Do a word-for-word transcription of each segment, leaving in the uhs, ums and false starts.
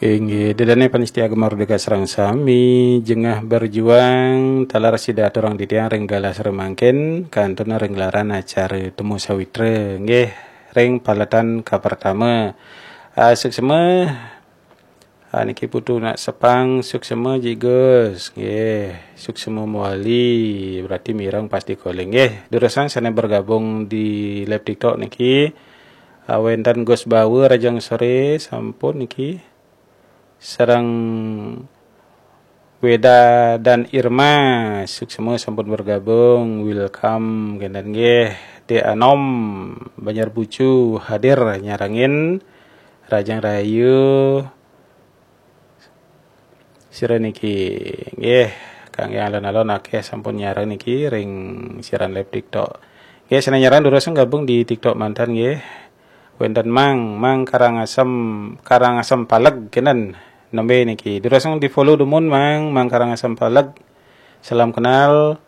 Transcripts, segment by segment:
Inggih, ida dané pamiarsa Gema Merdeka sareng sami, jengah berjuang, taler sida aturang titiang ring galah sareng mangkin, kantun ring gelaran acara Temu Sawitra, nggih, ring paletan kapertama. Ah, suksma, ah, niki Putu Nak Sepang, suksma Ji Gus, nggih, suksma mawali, berarti mireng pasti calling, nggih. Durusang sané bergabung di live TikTok niki, ah, wénten Gus Bawa, rahajeng soré, sampun niki. Sareng Weda dan Irma, suksma sampun bergabung, welcome, kénten nggih. Dé Anom, Banjar Bucu, hadir nyarengin, rahajeng rahayu. Sira niki, nggih, kanggé alon-alon akéh sampun nyareng niki ring siaran live TikTok. Nggih, sané nyareng durusang gabung di TikTok manten nggih. Wénten Mang, Mang Karangasem, Karangasem Paleg kénten. Nembé niki. Durusang di-follow dumun Mang, Mang Karangasem Paleg. Salam kenal.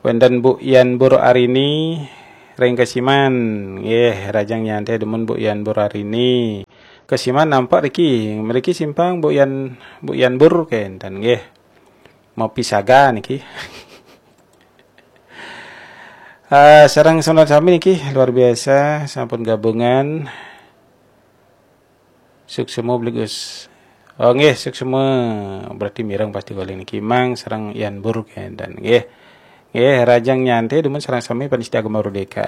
Wénten Bu Yan Bur Arini ring Kesiman. Nggih, rahajeng nyanté dumun Bu Yan Bur Arini. Kesiman nampek riki, mriki simpang Bu Yan, Bu Yan Bur kénten nggih. Mapisaga niki. Ah, sareng sané sami niki luar biasa sampun gabungan. Suksma Bli Gus. Oh nggih, suksma, berarti mireng pasti calling niki Mang sareng Yan Bur kénten nggih. Nggih, rahajeng nyanté dumun sareng sami pamiarsa Gema Merdeka.